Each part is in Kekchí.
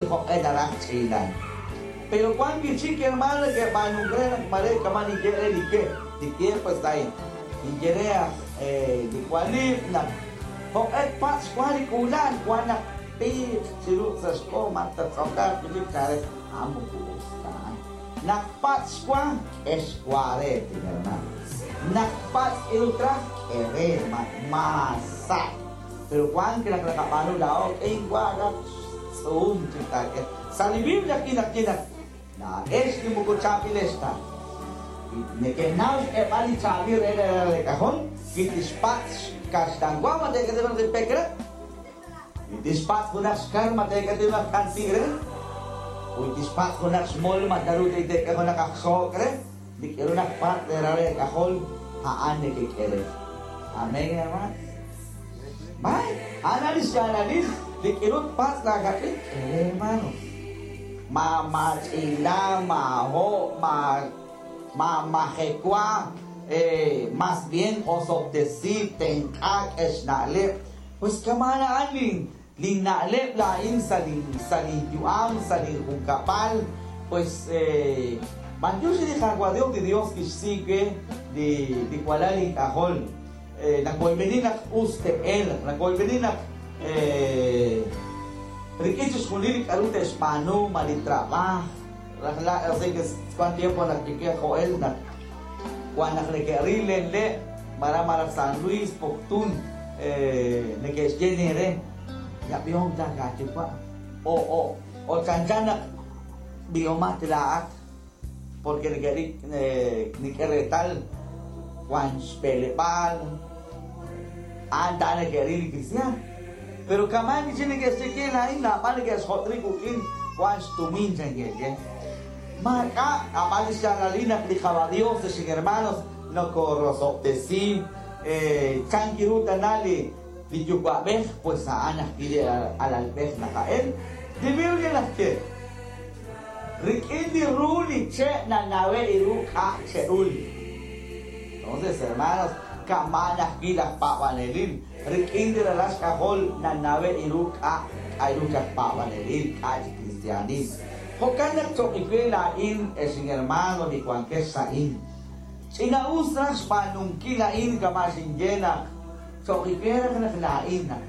joq'e naraj ch'iilan. Pero wan wi'chik hermano neke'b'aanunk re naq mare kama' ninye re li ke, li tiempo está ahí. Ninye re aj li walib' naq joq'e tpatz' xwa li k'uula'al wan naq piiq chiru sa' xk'o ma tattz'okaaq wi'chik chan re, a'an moko us ta a'an. Naq patz' xwa, k'e xwa re, tin hermano. Naq patz' k'iru traj, k'e re, hermano. Maasa'. Pero wank naq naqab'aanu laa'o, k'e inwa raj xtz'uum chik taak'e. Sa' li Biblia ajwi' naxye naq laa'ex li moko chaab'ilex ta, wi neke'naw xk'eb'al li chaab'il re leeralal wi tixpatz' xkaxlanwa ma teek'e junaq li pek re, wi tixpatz' junaq xkar ma teek'e junaq k'anti' re, wi tixpatz' junaq xmol ma naru teek'e junaq aj xook' re, li k'aru naqpatz' leeralal eek'ajol a'an nekek'e re. Amén, hermano. B'ay, a'an li xyaalalil li k'aru tpatz' laakach'in, k'e re, hermano. Ma maach'iila, maaho', ma maamajekwa, más bien osob'tesi, tenq'a, k'e xna'leb'. Pues kama'an a'an lin linna'leb' laa'in sa' lin sa' linyu'am, sa' linjunkab'al, pues b'antiox re li Qaawa' Dios, li Dios kixsi we li li walal ink'ajol. Nawoyb'eni naq us te'elq, nawoyb'eni naq rik'in chixjunil li k'a'ru te'xb'aanu, ma li trab'aaj, rajlal, así que wan tiempo naq kiwil Joel naq wan naq neke'ril len le' malaj malaj San Luis, Poptún, neke'xye len re, Ya b'ihom ta laayuwa' o o o chanchan naq b'ihomat laa'at. Porque neke'ril nik'e reetal wan xb'eleb'aal, a'an ta neke'ril li kristiaan. Pero kama'an chi neke'xye ke laa'in naab'al neke'xjot' rib' wuk'in wan xtumin chan ke'xye. Maak'a' ab'an li xyaalalil naq li Qaawa' Dios, ex hermanos, nokorosob'tesi chan ru tana li li yuwa'b'ej, pues a'an ajwi' li alalb'ej naqa'el. Li Biblia naxye. Rik'in li ru li che' nanawe' ru k'a' che'ul. Entonces, hermanos, kama'an ajwi' laj paab'anelil, rik'in li ralal xk'ajol nanawe' ru k'a' k'a'ru chi aj paab'anelil, k'a' chi kristiaanil. Jo'kan naq choq' we laa'in, ex inhermano li wankex sa'in, ch'ina-us raj xb'aanunkil a'in kama' xinye naq choq' we raj naq laa'in naq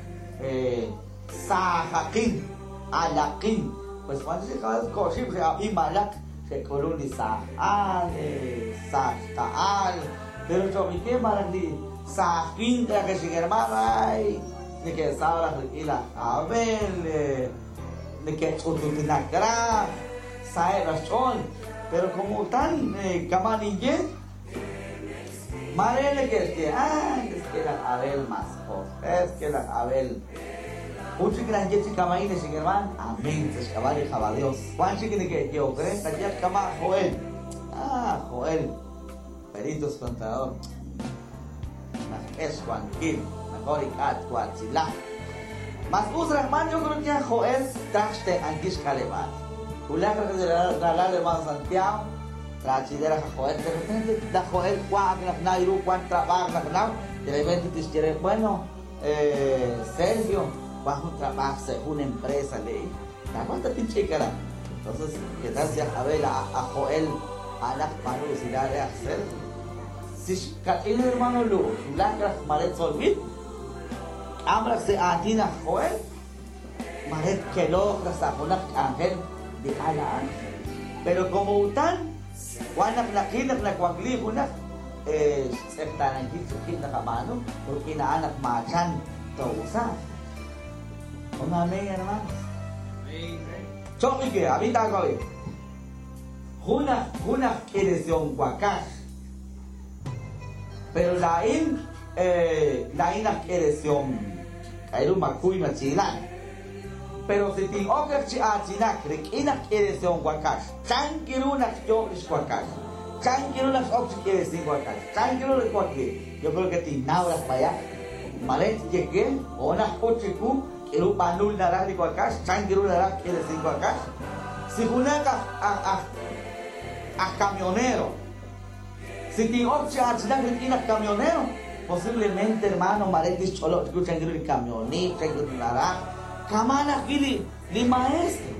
saajaqin, alaqin. Pues wan chi ko'xib' xe'ab'i malaq xe'k'ulun li saaj al, saaj xqa'al, pero choq' we malaj li saaj winq raj ex inhermano, ay, neke'saw raj rik'in laj Abel, neke'ch'ututnak raj, saheb' raj xch'ool. Pero como utan kama' ninye, Mare neke'xye, Ay, es que laj Abel mas jo'q'e, es que laj Abel. Jun chik naxye chi kama'in, ex inhermaan, Amén sa' xk'ab'a' li Qaawa' Dios. Wan chik neke'yehok re, qayehaq kama' Joel. Ah, Joel, peritos contador. Naxk'e xwankil, mejor ink'a' twaatzila. Mas us raj man yo creo que Joel traj xtenq'ankil xk'aleb'aal. Wulaj raj li ralal hermano Santiago, Raachile raj aj Joel, de repente laj Joel wank naq naw ru wank trab'aaj naq naw, de repente tixye re, bueno, Sergio, wank jun trab'aaj sa' jun empresa le'y, taawaj tatinch'ik aran. Entonces, ¿qué tal si aj Abel aj Joel a'anaq tb'aanu usilal re aj Sergio? Si xkach'in hermano Lu', xwulak raj mare tzolb'il, k'am raj sa' aatin aj Joel, Mare tkelooq raj sa' junaq k'anjel li al a'an. Pero como utan, wan naq naqil naq nawakli junaq xtz'eqtaanankil chik qib' naqab'aanu, rik'in a'an naq maachan too'usaaq. Un amén, hermanos. Choq' we, ab'i taawab'i. Jun aj jun aj k'iiresihom wakax. Pero laa'in laa'in aj k'iiresihom k'a'ru makuy machiilan. Pero si tin'ok raj chi aatinak rik'in aj k'iiresihom wakax, chan ru naq xyoob' lix wakax, chan ru naq x'ok chi k'iiresink wakax, chan ru naq xwakli, yo creo que tinnaw raj b'ayaq, mare tye we o naq k'ut chiwu k'aru b'aanul naraj li wakax, chan ru naraj k'iiresink wakax. Si junaq aj aj aj aj camionero, si tin'ok chi aatinak rik'in aj camionero, posiblemente, hermano, mare tixch'olob' chiwu chan ru li camionit, chan ru naraj, kama'an ajwi' li li maestro.